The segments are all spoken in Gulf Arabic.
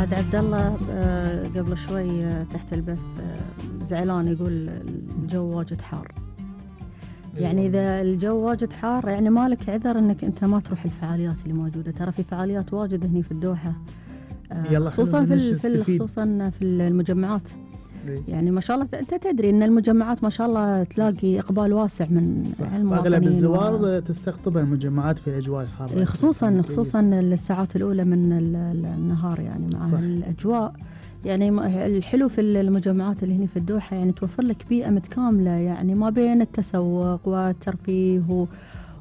عاد عبد الله قبل شوي تحت البث زعلان يقول الجو واجد حار. يعني إذا الجو واجد حار يعني مالك عذر إنك أنت ما تروح الفعاليات اللي موجودة. ترى في فعاليات واجد هني في الدوحة، خصوصا خصوصا في المجمعات. يعني ما شاء الله أنت تدري إن المجمعات ما شاء الله تلاقي إقبال واسع من المواطنين. أغلب الزوار تستقطبها المجمعات في الأجواء الحارة، خصوصا الساعات الأولى من النهار يعني مع الأجواء. يعني الحلو في المجمعات اللي هنا في الدوحة يعني توفر لك بيئة متكاملة، يعني ما بين التسوق والترفيه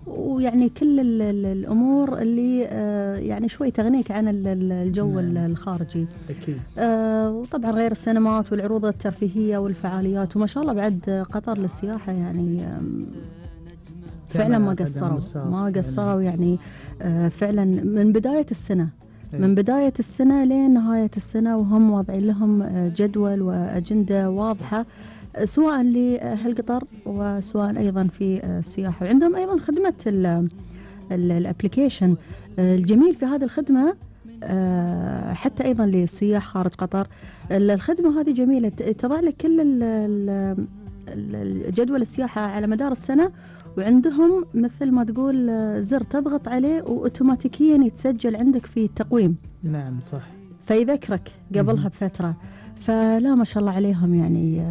ويعني كل الأمور اللي يعني شوي تغنيك عن الجو الخارجي. أكيد. وطبعا غير السينمات والعروض الترفيهية والفعاليات. وما شاء الله بعد قطر للسياحة يعني فعلا ما قصروا يعني فعلا من بداية السنة من بداية السنة لين نهاية السنة، وهم واضعين لهم جدول وأجندة واضحة سواء لهالقطر وسواء أيضا في السياحة. وعندهم أيضا خدمة الابليكيشن الجميل في هذه الخدمة حتى أيضا للسياح خارج قطر. الخدمة هذه جميلة، تضع لك كل جدول السياحة على مدار السنة، وعندهم مثل ما تقول زر تضغط عليه وأوتوماتيكيا يتسجل عندك في التقويم. نعم صح، فيذكرك قبلها بفترة. فلا ما شاء الله عليهم يعني.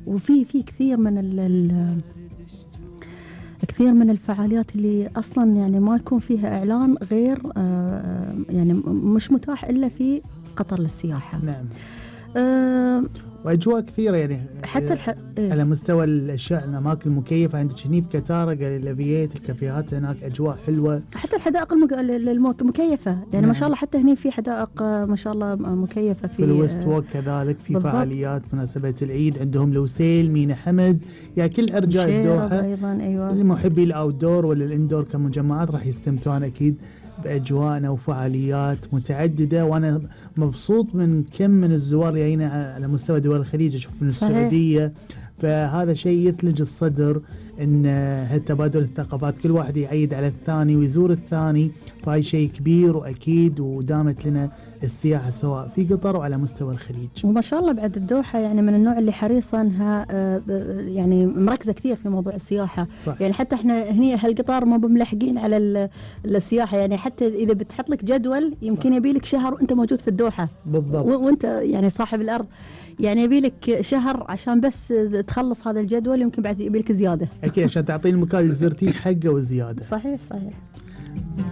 وفي كثير من الفعاليات اللي أصلا يعني ما يكون فيها إعلان غير يعني مش متاح إلا في قطر للسياحة. نعم. واجواء كثيره يعني حتى على مستوى الاشياء، الاماكن المكيفه عندك هني في كتاره، الجاليريات، الكافيهات هناك اجواء حلوه، حتى الحدائق المكيفه يعني. نعم. ما شاء الله حتى هني في حدائق ما شاء الله مكيفه في الويست ووك كذلك في بالضبط. فعاليات مناسبه العيد عندهم لوسيل، مينا حمد، يعني كل ارجاء الدوحه ايضا. ايوه، المحبي الاوت دور ولا الاندور كمجمعات راح يستمتعون اكيد بأجواءنا وفعاليات متعددة. وأنا مبسوط من كم من الزوار اللي جايين على مستوى دول الخليج، أشوف من السعودية. فهذا شيء يثلج الصدر إن هالتبادل الثقافات، كل واحد يعيد على الثاني ويزور الثاني، فهاي شيء كبير وأكيد ودامت لنا السياحة سواء في قطر وعلى مستوى الخليج. وما شاء الله بعد الدوحة يعني من النوع اللي حريصة انها يعني مركزة كثير في موضوع السياحة. صح. يعني حتى احنا هني هالقطار ما بملحقين على السياحة، يعني حتى اذا بتحط لك جدول يمكن يبي لك شهر وانت موجود في الدوحة بالضبط، وانت يعني صاحب الارض، يعني يبي لك شهر عشان بس تخلص هذا الجدول، يمكن بعد يبي لك زيادة. اكيد عشان تعطيني المكان اللي زرتيه حقه وزيادة. صحيح.